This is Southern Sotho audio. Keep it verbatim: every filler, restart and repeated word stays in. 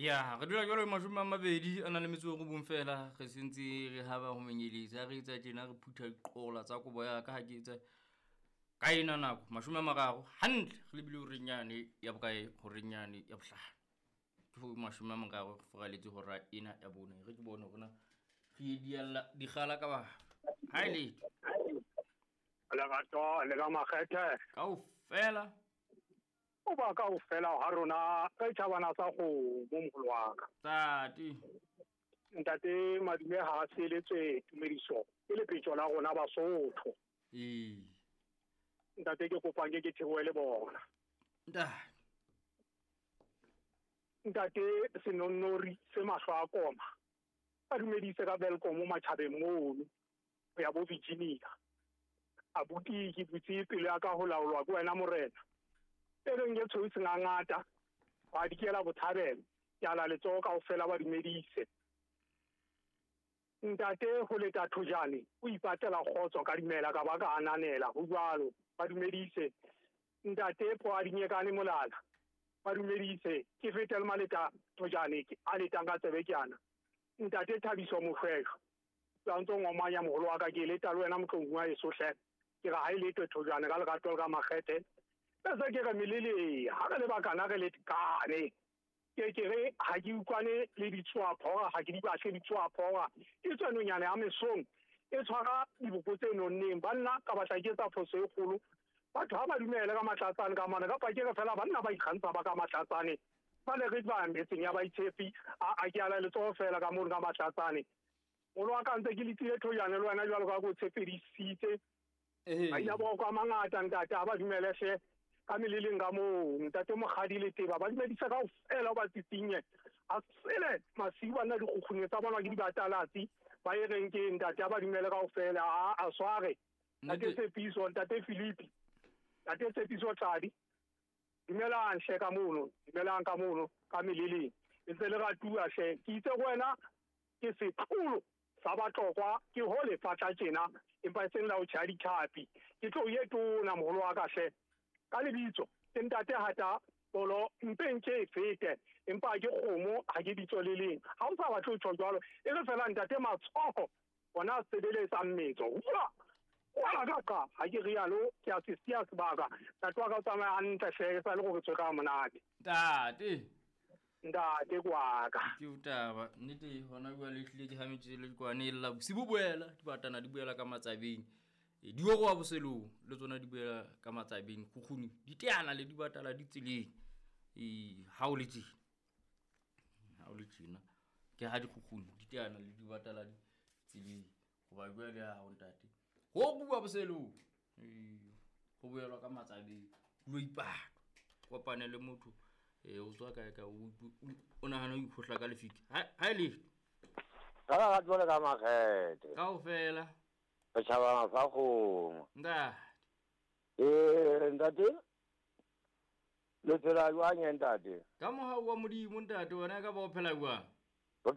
Ya re dula jwalo mashome a mabedi a nang le metso e robong fela re sentse re haba ho menyeletsa re etsa tjena re phutha diqola tsa kobo ya ka ha ke etsa ka ena nako mashome a mararo hantle re lebile horeng yane ya bokae horeng yane ya bohlano ke ho mashome a mararo re furaletse hora ena ya bone re ke bone hore na re dialla dikgala ka ba ha e letho lerato le ka makgethe kaofela o ba kaofela ha rona re tjhabana sa kgomo moholo wa ka ntate ntate Madume ha a seletswe tumediso ke lepetjo la rona Basotho ee ntate ke kopang ke ke theohe le bona ntate ntate Senonnori se mahlo a koma a dumedise ka Welkom matjhabeng mono ho ya bo Virginia abuti ke butse pelo ya ka ho laolwa ke wena morena e reng ke tshweu sengangata wa dikela bothabelo ke ala letsoho kaofela ba dumedise ntate ho leta thojane o ipatela kgotso ka dumela ka ba ka ananela ho jwalo ba dumedise ntate po a dinyekane molala ba dumedise ke fetele maleta thojane a letang ka tsebe ke ana ntate Thabiso Moshweshwe la ntso ngomanya moholo wa ka ke leta le wena motlong wa eso hle ke ra ha e letwe thojane ka lerato le ka makgethe bese ke re melele ha re le bakana re le kane ke ke re ha ke utlwane le ditswaphora ha ke di batle ditswaphora ke tswenonyana ya mesong e tshwara diboko tse nonneng banna ka batla ke etsa phoso e kgolo batho ha ba dumele ka matlatsane ka mane kapa ke re fela banna ba ikgantsha ba ka matlatsane ba le re ba metseng ya baitshepi a a ke ala letsoho fela ka mono ka matlatsane moholo wa ka ntse ke letile thojane le wena jwalo ka ko tshepedisitse ee a ila boko a mangata ntate ha ba dumele hle ka meleleng ka moo ntate Mokgadi le Teba ba dumedisa kaofela ba tsitsinye a sele masiu bana dikgukgune tsa bona ke dibatalatsi ba e reng ke ntate ha ba dumele kaofela a a sware ntate Tshepiso ntate Philipi ntate Tshepiso Tladi dumelang hle ka mono dumelang ka mono ka meleleng e ntse le ratuwa hle ke itse go wena ke setlolo sa batlokwa ke ho lefatla tjena empa e seng la ho tjhaya ditlhapi ke tlo ye tona moholo wa ka hle ka lebitso ke ntate hata polo mpeng ke e fete empa ke kgomo ha ke bitso le leng ha o sa batle ho tjho jwalo e re fela ntate matsoho ona a sebeletsa mmetso hua wala ka ka ha ke rialo ke a se siya sebaka ntate wa ka o tsamaya hantle hle e sa le gore tswe ka monate ntate ntate kwaka ke taba nnete hona jwale ehlile ke hametse le dikwane e lla bosibu boela dibatana di boela ka matsabeng e di wa boselong le tsona di boela ka matsabeng kgukguni di teana le dibatala di tseleng e ha o le tjena ha o le tjena ke ha dikgukguni di teana le dibatala di tseleng hoba jwale ha o ntate ho bua boselong e ho boelwa ka matsabeng lo ipatwa kopane le motho e o tswa kae ka o o nahana o ikgohla ka lefika ha e le ka lerato le ka makgethe kaofela re tjhabana sa kgomo ntate ee ntate le phela jwang ntate ka mohau wa Modimo ntate wena ka ba o phela jwang